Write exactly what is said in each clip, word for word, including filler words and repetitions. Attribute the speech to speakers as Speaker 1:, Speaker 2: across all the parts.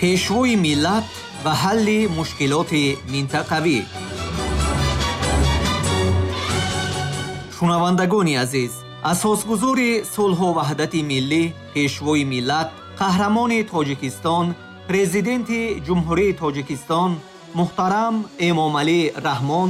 Speaker 1: Пешвои миллат ва ҳалли мушкилоти минтақавӣ. Шунавандагони азиз, асосгузори сулҳу ваҳдати миллӣ, Пешвои миллат, қаҳрамони Тоҷикистон, Президенти Ҷумҳурии Тоҷикистон муҳтарам Эмомалӣ Раҳмон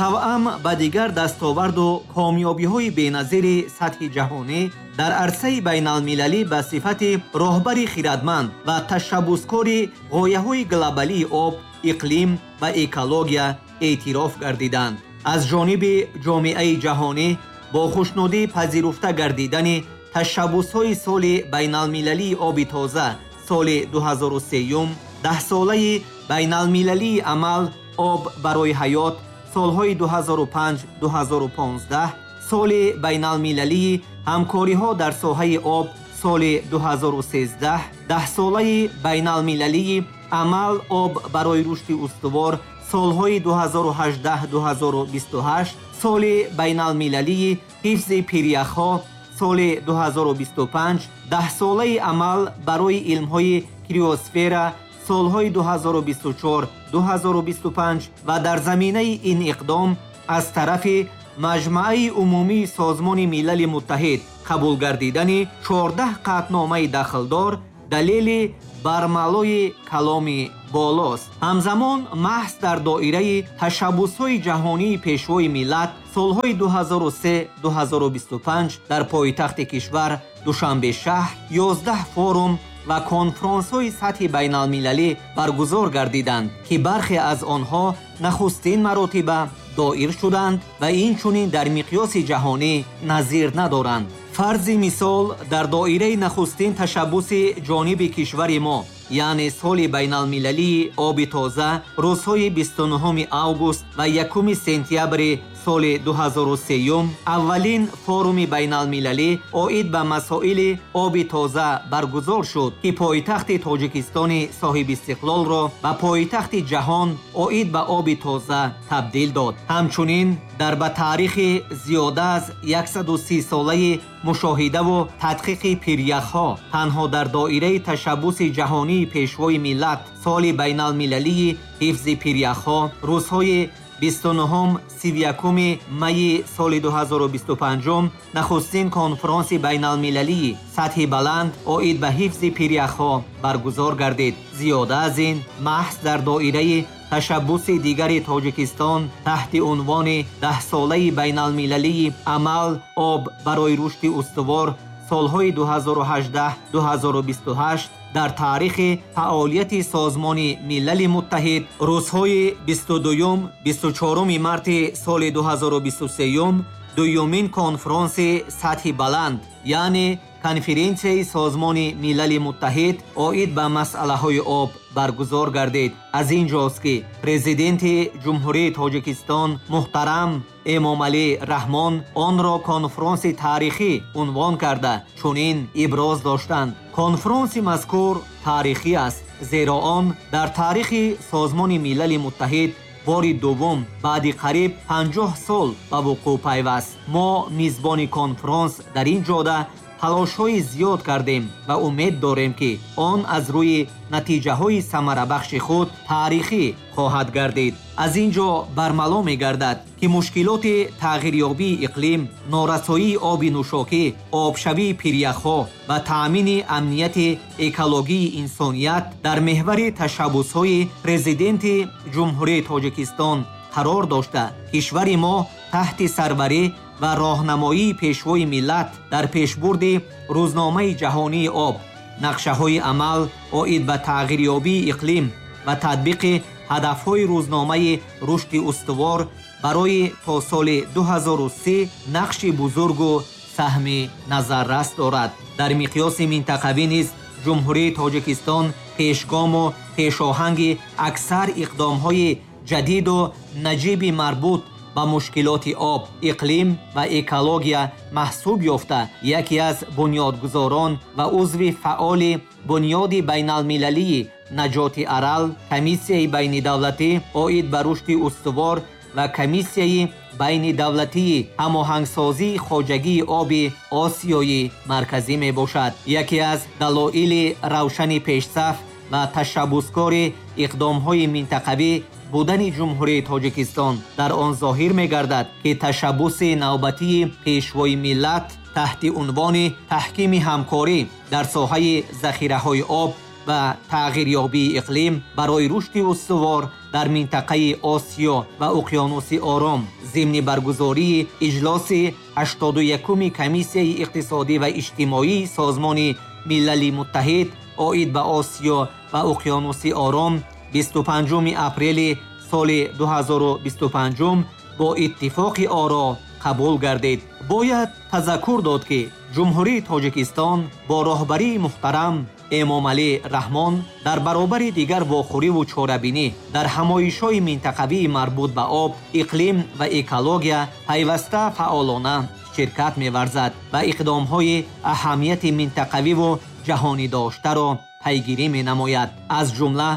Speaker 1: тавъам ба дигар дастоварду комёбиҳои беназири сатҳи ҷаҳонӣ дар арсаи байналмилалӣ ба сифати роҳбари хирадманд ва ташаббускори ғояҳои глобалии об, иқлим ва экология эътироф гардиданд. Аз ҷониби ҷомеаи ҷаҳонӣ бо хушнудӣ пазируфта гардидани ташаббусҳои соли байналмилалии оби тоза соли дуҳазору сеюм, даҳсолаи байналмилалии амал об барои ҳаёт солҳои дуҳазору панҷ дуҳазору понздаҳ, соли байналмилалии ҳамкориҳо дар соҳаи об соли дуҳазору сездаҳ, даҳсолаи байналмилалии амал об барои рушди устувор солҳои дуҳазору ҳаждаҳ дуҳазору бисту ҳашт, соли байналмилалии ҳифзи пиряхҳо соли дуҳазору бисту панҷ, даҳсолаи амал барои илмҳои криосфера солҳои дуҳазору бисту чор дуҳазору бисту панҷ ва дар заминаи ин иқдом аз тарафи Маҷмааи умумии Созмони Милали Муттаҳид қабул гардидани чордаҳ қатъномаи дахлдор далели бармалои каломи болост. Ҳамзамон маҳз дар доираи ташаббусҳои ҷаҳонии Пешвои миллат солҳои дуҳазору се дуҳазору бисту панҷ дар пойтахти кишвар Душанбе шаҳр ёздаҳ форум ва конфронсҳои сатҳи байналмилалӣ баргузор гардиданд, ки бархе аз онҳо нахустин маротиба доир шуданд ва инчунин дар миқёси ҷаҳонӣ назир надоранд. Фарзи мисол, дар доираи нахустин ташаббуси ҷониби кишвари мо, яъне соли байналмилалии оби тоза, рӯзҳои бисту нуҳуми август ва якуми сентябри соли дуҳазору сеюм аввалин форуми байналмилалӣ оид ба масоили оби тоза баргузор шуд, ки пойтахти Тоҷикистони соҳибистиқлолро ба пойтахти ҷаҳон оид ба оби тоза табдил дод. Ҳамчунин дар ба таърихи зиёда аз яксаду си солаи мушоҳидаву тадқиқи пиряхҳо танҳо дар доираи ташаббуси ҷаҳонии Пешвои миллат соли байналмилалии ҳифзи пиряхҳо рӯзҳои бисту нуҳум сиву якуми майи соли дуҳазору бисту панҷум нахустин конфронси байналмилалии сатҳи баланд оид ба ҳифзи пиряхҳо баргузор гардид. Зиёда аз ин, маҳз дар доираи ташаббуси дигари Тоҷикистон таҳти унвони даҳсолаи байналмилалии амал об барои рушди устувор солҳои дуҳазору ҳаждаҳ дуҳазору бисту ҳашт дар таърихи фаъолияти Созмони Милали Муттаҳид рӯзҳои бисту дуюм бисту чоруми марти соли дуҳазору бисту сеюм дуюмин конфронси сатҳи баланд, яъне конференсияи Созмони Милали Муттаҳид оид ба масъалаҳои об баргузор гардид. Аз ин ҷост, ки Президенти Ҷумҳурии Тоҷикистон муҳтарам Эмомалӣ Раҳмон онро конфронси таърихӣ унвон карда чунин иброз доштанд: конфронси мазкур таърихӣ аст, зеро он дар таърихи Созмони Милали Муттаҳид бори дуввум баъди қариб панҷоҳ сол ба вуқӯъ пайваст. Мо мизбони конфронс дар ин ҷода талошҳои зиёд кардем ва умед дорем, ки он аз рӯи натиҷаҳои самарабахши худ таърихӣ хоҳад гардид. Аз ин ҷо бармало мегардад, ки мушкилоти тағйирёбии иқлим, норасоии оби нӯшокӣ, обшавии пиряхҳо ва таъмини амнияти экологии инсоният дар меҳвари ташаббусҳои Президенти Ҷумҳурии Тоҷикистон қарор дошта, кишвари мо таҳти сарварӣ ва роҳнамоии Пешвои миллат дар пешбурди рӯзномаи ҷаҳонии об, нақшаҳои амал оид ба тағйирёбии иқлим ва татбиқи ҳадафҳои рӯзномаи рушди устувор барои то соли дуҳазору си нақши бузургу саҳми назаррас дорад. Дар миқёси минтақавӣ низ Ҷумҳурии Тоҷикистон пешгому пешоҳанги аксар иқдомҳои ҷадиду наҷиби марбут ба мушкилоти об, иқлим ва экология маҳсуб ёфта, яке аз бунёдгузорон ва узви фаъоли Бунёди байналмилалии наҷоти Арал, Комиссияи байнидавлатӣ оид ба рушди устувор ва Комиссияи байнидавлатии ҳамоҳангсозии хоҷагии оби Осиёи Марказӣ мебошад. Яке аз далоили равшани пешсаф ва ташаббускори иқдомҳои минтақавӣ будани Ҷумҳурии Тоҷикистон дар он зоҳир мегардад, ки ташаббуси навбатии Пешвои миллат таҳти унвони таҳкими ҳамкорӣ дар соҳаи захираҳои об ва тағйирёбии иқлим барои рушди устувор дар минтақаи Осиё ва Уқёнуси Ором зимни баргузории иҷлоси ҳаштоду якуми Комиссияи иқтисодӣ ва иҷтимоии Созмони Милали Муттаҳид оид ба Осиё ва Уқёнуси Ором бисту панҷуми апрели соли ду ҳазору бисту панҷум бо иттифоқи оро қабул гардид. Бояд тазаккур дод, ки Ҷумҳурии Тоҷикистон бо роҳбарии муҳтарам Эмомалӣ Раҳмон дар баробари дигар вохӯриву чорабинӣ дар ҳамоишҳои минтақавии марбут ба об, иқлим ва экология пайваста фаъолона ширкат меварзад ва иқдомҳои аҳамияти минтақавиву ҷаҳонӣ доштаро пайгирӣ менамояд. Аз ҷумла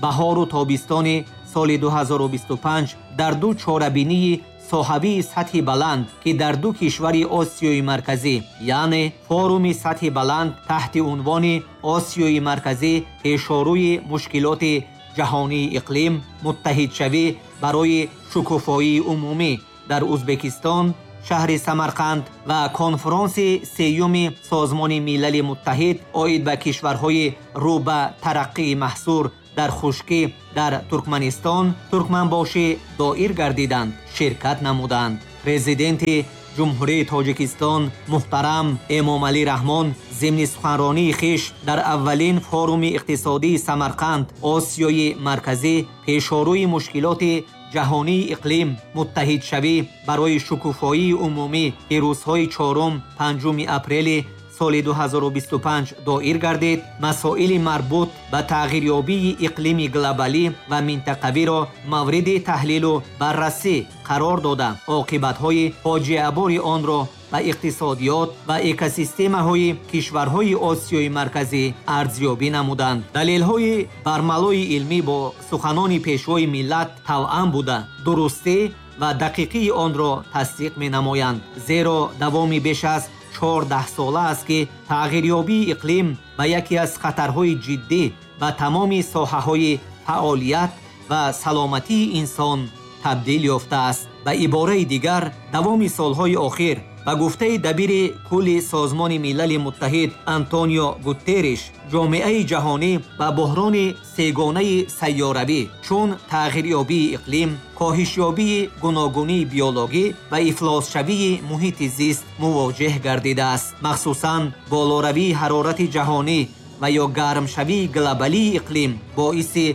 Speaker 1: баҳору тобистони соли ду ҳазору бисту панҷ дар ду чорабинии соҳавии сатҳи баланд, ки дар ду кишвари Осиёи Марказӣ, яъне форуми сатҳи баланд таҳти унвони Осиёи Марказӣ пешорӯи мушкилоти ҷаҳонии иқлим, муттаҳидшавӣ барои шукуфоии умумӣ дар Узбекистон, шаҳри Самарқанд ва конфронси сеюми Созмони Милали Муттаҳид оид ба кишварҳои рӯ ба тараққии маҳсур дар хушкӣ дар Туркманистон Туркманбошӣ доир гардиданд, ширкат намуданд. Президенти Ҷумҳурии Тоҷикистон муҳтарам Эмомалӣ Раҳмон зимни суханронии хиш дар аввалин форуми иқтисодии Самарқанд Осиёи Марказӣ пешорӯи мушкилоти ҷаҳонии иқлим, муттаҳидшавӣ барои шукуфоии умумӣ, ки рӯзҳои чорум панҷуми апрели соли ду ҳазору бисту панҷ доир гардид, масоили марбут ба тағйирёбии иқлими глобалӣ ва минтақавиро мавриди таҳлилу баррасӣ қарор дода, оқибатҳои фоҷиабори онро ба иқтисодиёт ва экосистемаҳои кишварҳои Осиёи Марказӣ арзёбӣ намуданд. Далелҳои бармалои илмӣ бо суханони Пешвои миллат тавъам буда, дурустӣ ва дақиқии онро тасдиқ менамоянд, зеро давоми беш аз чордаҳ сола аст, ки тағйирёбии иқлим ба яке аз хатарҳои ҷиддӣ ба тамоми соҳаҳои фаъолият ва саломатии инсон табдил ёфтааст. Ба ибораи дигар, давоми солҳои охир ба гуфтаи дабири кулли Созмони Милали Муттаҳид Антонио Гутерриш, ҷомеаи ҷаҳонӣ ба буҳрони сегонаи сайёравӣ чун тағйирёбии иқлим, коҳишёбии гуногунии биологӣ ва ифлосшавии муҳити зист мувоҷеҳ гардидааст. Махсусан болоравии ҳарорати ҷаҳонӣ ва ё гармшавии глобалии иқлим боиси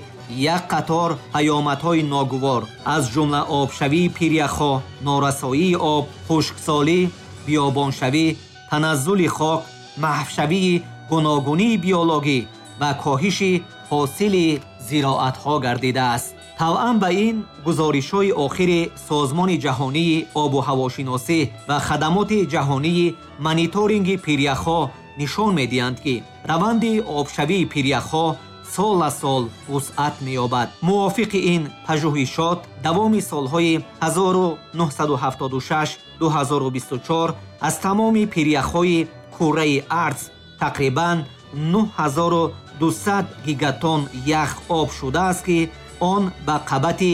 Speaker 1: як қатор паёмадҳои ногувор, аз ҷумла обшавии пиряхҳо, норасоии об, хушксолӣ, биёбоншавӣ, таназзули хок, маҳвшавии гуногунии биологӣ ва коҳиши ҳосили зироатҳо гардидааст. Тавъан ба ин гузоришҳои охири Созмони Ҷаҳонии обу ҳавошиносӣ ва хадамоти ҷаҳонии мониторинги пиряхҳо нишон медиҳанд, ки раванди обшавии пиряхҳо сол аз сол вусъат меёбад. Мувофиқи ин пажӯҳишот, давоми солҳои ҳазору нуҳсаду ҳафтоду шаш ду ҳазору бисту чор аз тамоми пиряхҳои кураи арз тақрибан нуҳ ҳазору дусад гигатон ях об шудааст, ки он ба қабати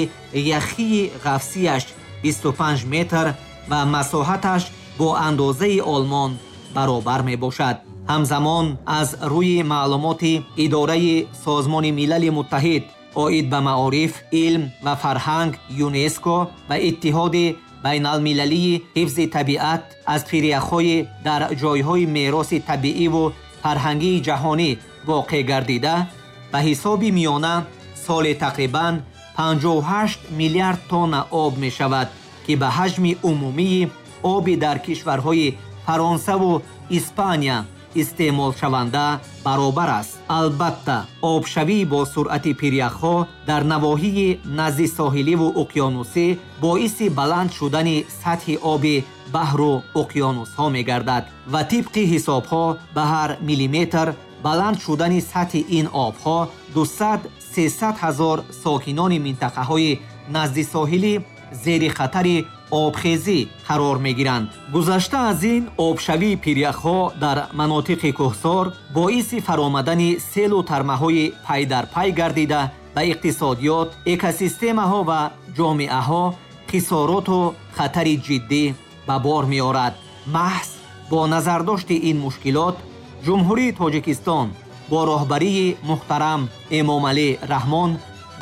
Speaker 1: яхии ғафсияш бисту панҷ метр ва масоҳаташ бо андозаи Олмон баробар мебошад. Ҳамзамон аз рӯи маълумоти Идораи Созмони Милали Муттаҳид оид ба маориф, илм ва фарҳанг ЮНЕСКО ва Иттиҳоди байналмилалии ҳифзи табиат аз пиряхҳои дар ҷойҳои мероси табииву фарҳангии ҷаҳонӣ воқеъ гардида, ба ҳисоби миёна соли тақрибан панҷоҳу ҳашт миллиард тонна об мешавад, ки ба ҳаҷми умумии оби дар кишварҳои Фаронсаву Испания истеъмолшаванда баробар аст. Албатта, обшавӣ бо суръати пиряхҳо дар навоҳии назди соҳиливу уқёнусӣ боиси баланд шудани сатҳи оби баҳру уқёнусҳо мегардад ва тибқи ҳисобҳо ба ҳар миллиметр баланд шудани сатҳи ин обҳо дусад сесад ҳазор сокинони минтақаҳои назди соҳилӣ зери хатари обхезӣ қарор мегиранд. Гузашта аз ин, обшавии пиряхҳо дар манотиқи кӯҳсор боиси фаромадани селу тармаҳои пайдарпай гардида ба иқтисодиёт, экосистемаҳо ва ҷомеаҳо хисороту хатари ҷиддӣ ба бор меорад. Маҳз бо назардошти ин мушкилот, Ҷумҳурии Тоҷикистон бо роҳбарии муҳтарам Эмомалӣ Раҳмон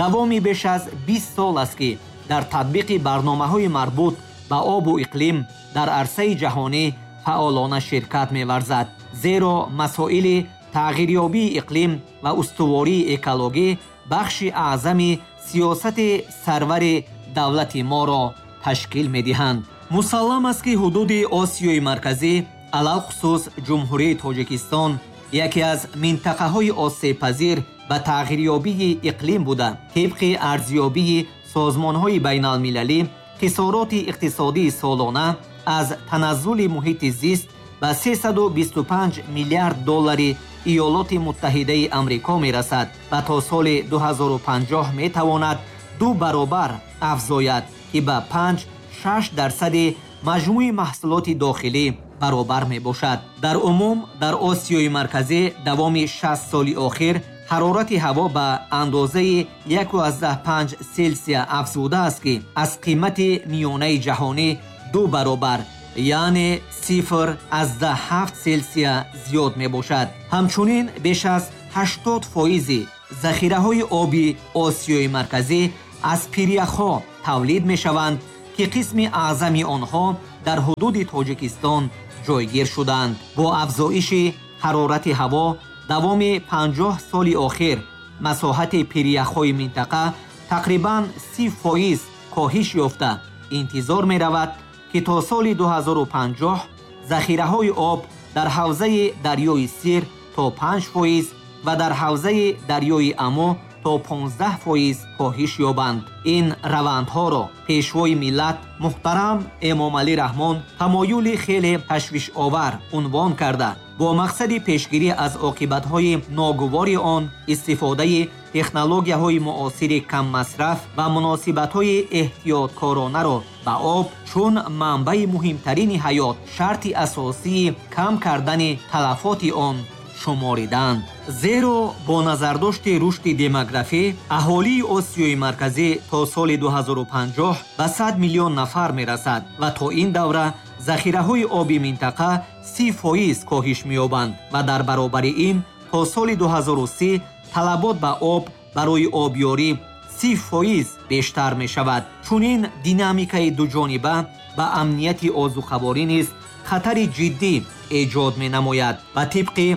Speaker 1: давоми беш аз бист сол аст, ки дар татбиқи барномаҳои марбут ба обу иқлим дар арсаи ҷаҳонӣ фаъолона ширкат меварзад. Зеро масоили тағйирёбии иқлим ва устувории экологӣ бахши аъзами сиёсати сарвари давлати моро ташкил медиҳанд. Мусаллам аст, ки ҳудуди Осиёи Марказӣ, алалхусус Ҷумҳурии Тоҷикистон, яке аз минтақаҳои осебпазир ба тағйирёбии иқлим буда, тибқи арзёбии созмонҳои байналмилалӣ хисороти иқтисодии солона аз таназзули муҳити зист ба сесаду бисту панҷ миллиард доллари Иёлоти Муттаҳидаи Амрико мерасад ва то соли ду ҳазору панҷоҳ метавонад ду баробар афзояд, ки ба панҷ шаш дарсади маҷмӯи маҳсулоти дохилӣ баробар мебошад. Дар умум дар Осиёи Марказӣ давоми шаст соли охир ҳарорати ҳаво ба андозаи яку аз даҳ панҷ Селсия афзудааст, ки аз қимати миёнаи ҷаҳонӣ ду баробар, яъне сифр аз даҳ ҳафт Селсия зиёд мебошад. Ҳамчунин беш аз ҳаштод фоизи захираҳои оби Осиёи Марказӣ аз пиряхҳо тавлид мешаванд, ки қисми аъзами онҳо дар ҳудуди Тоҷикистон ҷойгир шуданд. Бо афзоиши ҳарорати ҳаво давоми панҷоҳ соли охир масоҳати пиряхҳои минтақа тақрибан си фоиз коҳиш ёфта, интизор меравад, ки то соли ду ҳазору панҷоҳ захираҳои об дар ҳавзаи дарёи Сир то панҷ фоиз ва дар ҳавзаи дарёи Амо то понздаҳ фоиз коҳиш ёбанд. Ин равандҳоро Пешвои миллат муҳтарам Эмомалӣ Раҳмон тамоюли хеле ташвишовар унвон карда, бо мақсади пешгирӣ аз оқибатҳои ногувори он истифодаи технологияҳои муосири каммасраф ва муносибатҳои эҳтиёткоронаро ба об чун манбаи муҳимтарини ҳаёт шарти асосии кам кардани талафоти он шумориданд. Зеро бо назардошти рушди демографӣ аҳолии Осиёи Марказӣ то соли ду ҳазору панҷоҳ ба сад миллион нафар мерасад ва то ин давра захираҳои оби минтақа си фоиз коҳиш меёбанд ва дар баробари ин то соли ду ҳазору си талабот ба об барои обёрӣ си фоиз бештар мешавад. Чунин динамикаи дуҷониба ба амнияти озуқаворӣ низ хатари ҷиддӣ эҷод менамояд ва тибқи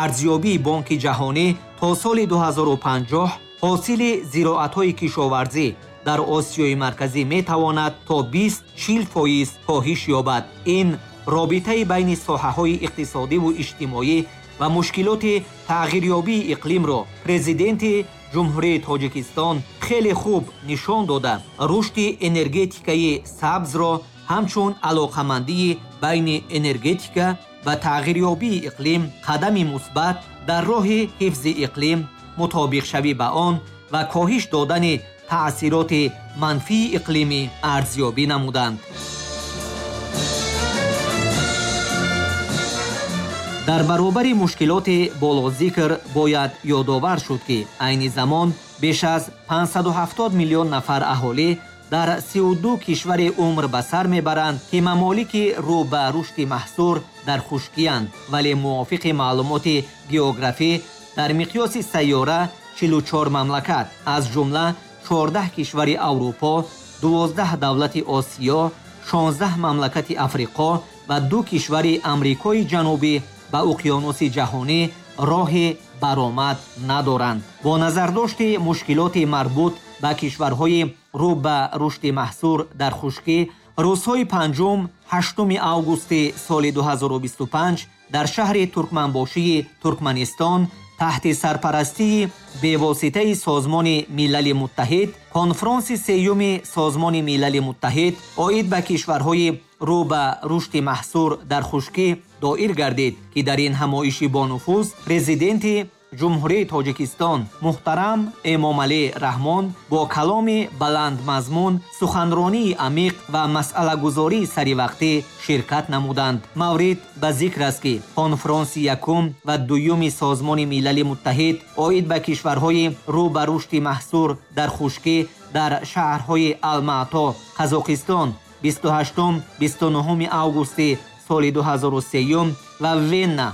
Speaker 1: арзёбии Бонки Ҷаҳонӣ то соли ду ҳазору панҷоҳ ҳосили зироатҳои кишоварзӣ дар Осиёи Марказӣ метавонад то бист чил фоиз коҳиш ёбад. Ин робитаи байни соҳаҳои иқтисодиву иҷтимоӣ ва мушкилоти тағйирёбии иқлимро Президенти Ҷумҳурии Тоҷикистон хеле хуб нишон дода, рушди энергетикаи сабзро ҳамчун алоқамандии байни энергетика ва тағйирёбии иқлим қадами мусбат дар роҳи ҳифзи иқлим, мутобиқшавӣ ба он ва коҳиш додани таъсироти манфии иқлимӣ арзёбӣ намуданд. Дар баробари мушкилоти болозикр бояд ёдовар шуд, ки айни замон беш аз панҷсаду ҳафтод миллион нафар аҳолӣ дар сию ду кишвари умр ба сар мебаранд, ки мамолики рӯ ба рушди маҳсур дар хушкиянд, вале мувофиқи маълумоти географӣ дар миқёси сайёра чилу чор мамлакат, аз ҷумла чордаҳ кишвари Аврупо, дувоздаҳ давлати Осиё, шонздаҳ мамлакати Африқо ва ду кишвари Амрикои Ҷанубӣ ба уқёнуси ҷаҳонӣ роҳи баромад надоранд. Бо назардошти мушкилоти марбут ба кишварҳои рӯ ба рушди маҳсур дар хушкӣ, рӯзҳои панҷум ҳаштуми августи соли ду ҳазору бисту панҷ дар шаҳри Туркманбошии Туркманистон таҳти сарпарастии бевоситаи Созмони Милали Муттаҳид конфронси сеюми Созмони Милали Муттаҳид оид ба кишварҳои рӯ ба рушди маҳсур дар хушкӣ доир гардид, ки дар ин ҳамоиши бонуфуз президенти Ҷумҳурии Тоҷикистон муҳтарам Эмомалӣ Раҳмон бо каломи баландмазмун, суханронии амиқ ва масъалагузории саривақтӣ ширкат намуданд. Маврид ба зикр аст, ки конфронси якум ва дуюми Созмони Милали Муттаҳид оид ба кишварҳои рӯ ба рушди маҳсур дар хушкӣ дар шаҳрҳои Алмато, Қазоқистон бисту ҳаштум бисту нуҳуми августи соли ду ҳазору сеюм ва Венна,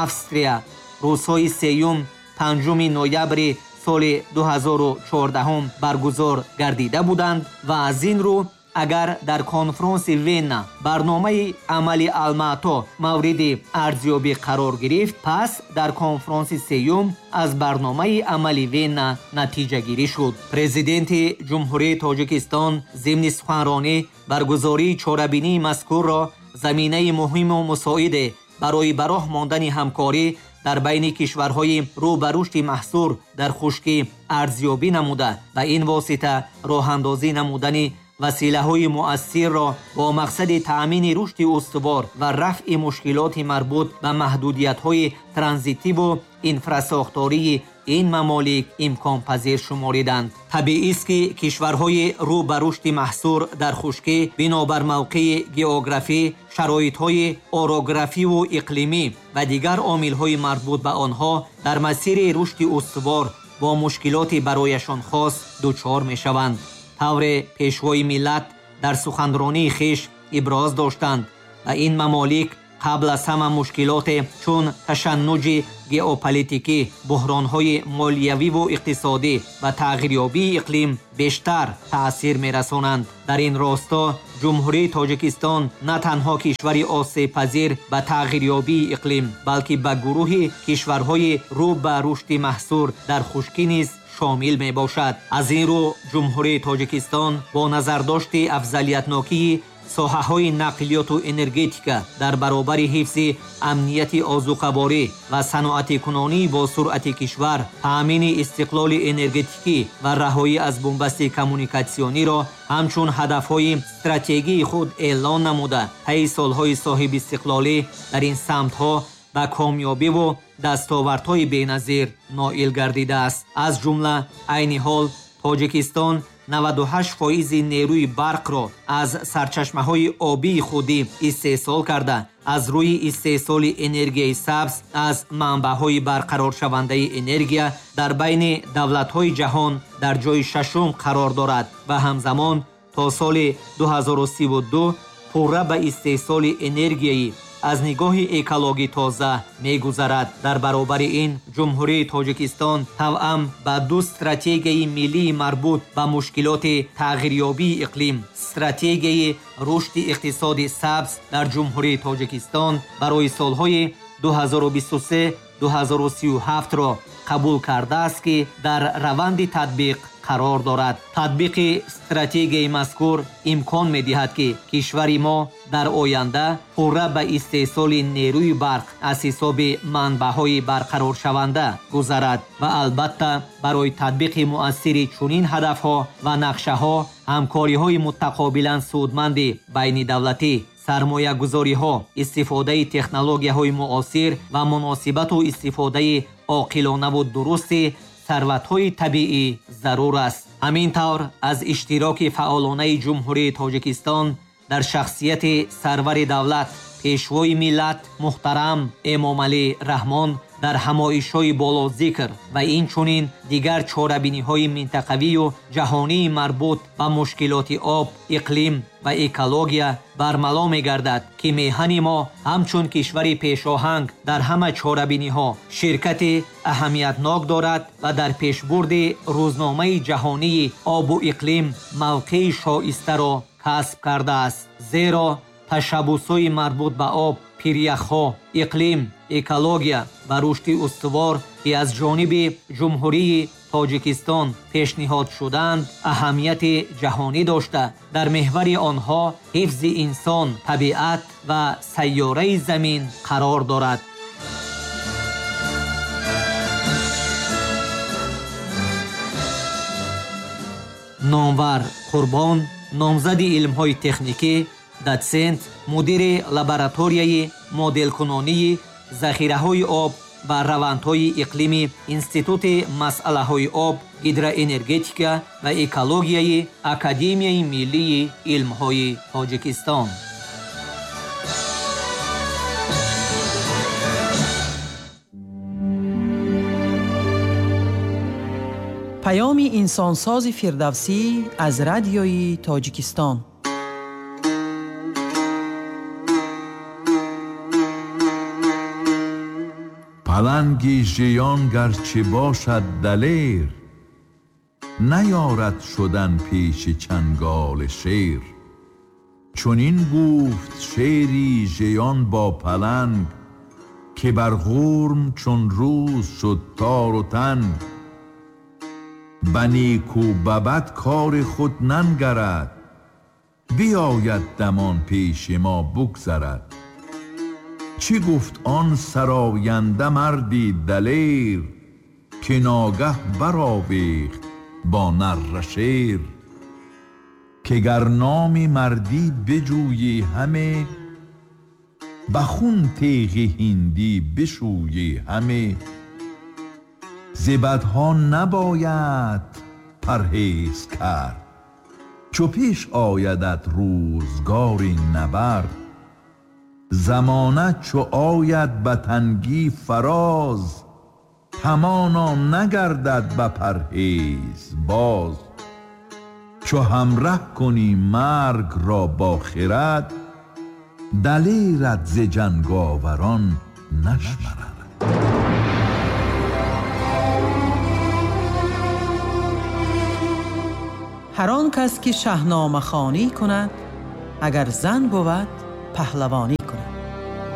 Speaker 1: Австрия рӯзҳои сеюм панҷуми ноябри соли ду ҳазору чордаҳум баргузор гардида буданд ва аз ин рӯ агар дар конфронси Венна барномаи амали Алмато мавриди арзёбӣ қарор гирифт, пас дар конфронси сеюм аз барномаи амали Венна натиҷагирӣ шуд. Президенти Ҷумҳурии Тоҷикистон зимни суханронӣ баргузории чорабинии мазкурро заминаи муҳиму мусоиде барои ба роҳ мондани ҳамкорӣ дар байни кишварҳои рӯ ба рушди маҳсур дар хушкӣ арзёбӣ намуда ва ин восита роҳандозӣ намудани василаҳои муассирро бо мақсади таъмини рушди устувор ва рафъи мушкилоти марбут ба маҳдудиятҳои транзитиву инфрасохтории ин мамолик имконпазир шумориданд. Табиист, ки кишварҳои рӯ ба рушди маҳсур дар хушкӣ бинобар мавқеи географӣ, шароитҳои орографиву иқлимӣ ва дигар омилҳои марбут ба онҳо дар масири рушди устувор бо мушкилоти барояшон хос дучор мешаванд. Тавре пешвои миллат дар суханронии хеш иброз доштанд ва ин мамолик қабл аз ҳама мушкилоте чун ташаннуҷи геополитикӣ, буҳронҳои молиявиву иқтисодӣ ва тағйирёбии иқлим бештар таъсир мерасонанд. Дар ин росто Ҷумҳурии Тоҷикистон на танҳо кишвари осебпазир ба тағйирёбии иқлим, балки ба гурӯҳи кишварҳои рӯ ба рушди маҳсур дар хушкӣ низ шомил мебошад. Аз ин рӯ Ҷумҳурии Тоҷикистон бо назардошти афзалиятнокии соҳаҳои нақлиёту энергетика дар баробари ҳифзи амнияти озуқаворӣ ва саноатикунонӣ бо суръати кишвар, таъмини истиқлоли энергетикӣ ва раҳоӣ аз бунбасти коммуникатсиониро ҳамчун ҳадафҳои стратегии худ эълон намуда, таи солҳои соҳибистиқлолӣ дар ин самтҳо ба комёбиву дастовардҳои беназир ноил гардидааст. Аз ҷумла айни ҳол Тоҷикистон наваду ҳашт фоизи нерӯи барқро аз сарчашмаҳои обии худӣ истеҳсол карда, аз рӯи истеҳсоли энергияи сабз аз манбаъҳои барқароршавандаи энергия дар байни давлатҳои ҷаҳон дар ҷои шашум қарор дорад ва ҳамзамон то соли ду ҳазору сиву ду пурра ба истеҳсоли энергияи аз нигоҳи экологӣ тоза мегузарад. Дар баробари ин Ҷумҳурии Тоҷикистон тавъам ба ду стратегияи миллии марбут ба мушкилоти тағйирёбии иқлим, стратегияи рушди иқтисоди сабз дар Ҷумҳурии Тоҷикистон барои солҳои ду ҳазору бисту се ду ҳазору сию ҳафтро қабул кардааст, ки дар раванди татбиқ қарор дорад. Татбиқи стратегияи мазкур имкон медиҳад, ки кишвари мо дар оянда пурра ба истеҳсоли нерӯи барқ аз ҳисоби манбаъҳои барқароршаванда гузарад ва албатта барои татбиқи муассири чунин ҳадафҳо ва нақшаҳо ҳамкориҳои мутақобилан судманди байнидавлатӣ, сармоягузориҳо, истифодаи технологияҳои муосир ва муносибату истифодаи оқилонаву дурусти сарватҳои табиӣ зарур аст. Ҳамин тавр аз иштироки фаъолонаи Ҷумҳурии Тоҷикистон дар шахсияти сарвари давлат, пешвои миллат муҳтарам Эмомалӣ Раҳмон дар ҳамоишҳои болозикр ва инчунин дигар чорабиниҳои минтақавию ҷаҳонии марбут ба мушкилоти об, иқлим ва экология бармало мегардад, ки меҳани мо ҳамчун кишвари пешоҳанг дар ҳама чорабиниҳо ширкати аҳамиятнок дорад ва дар пешбурди рӯзномаи ҷаҳонии обу иқлим мавқеи шоистаро касб кардааст. Зеро ташаббусҳои марбут ба об, пиряхҳо, иқлим, экология ва рушди устувор, ки аз ҷониби Ҷумҳурии Тоҷикистон пешниҳод шуданд, аҳамияти ҷаҳонӣ дошта, дар меҳвари онҳо ҳифзи инсон, табиат ва сайёраи замин қарор дорад. Номвар Қурбон, номзади илмҳои техникӣ, дотсент, мудири лабораторияи моделкунонии захираҳои об ва равандҳои иқлими Институти масъалаҳои об, гидроэнергетика ва экологияи Академияи миллии илмҳои Тоҷикистон.
Speaker 2: Паёми инсонсози Фирдавсӣ аз радиои Тоҷикистон.
Speaker 3: Паланги жиён гарчи бошад далер, наёрад шудан пеши чанголи шер. Чунин гуфт шери жиён бо паланг, ки бар ғурм чун рӯз шуд тору танг. Ба неку ба бад кори худ нангарад, биёяд дамон пеши мо бугзарад. Чӣ гуфт он сароянда марди далер, ки ногаҳ баровехт бо нарра шер. Ки гар номи мардӣ биҷӯйӣ ҳаме, ба хун теғи ҳиндӣ бишӯйӣ ҳаме. Зи бадҳо набояд парҳез кард, чу пеш оядат рӯзгори набард. Замона чу ояд ба тангӣ фароз, ҳамоно нагардад ба парҳез боз. Чу ҳамраҳ кунӣ марг ро бо хирад, далерат зи ҷанговарон нашмарад.
Speaker 2: Ҳар он кас ки шаҳномахонӣ кунад, агар зан бувад паҳлавонӣ.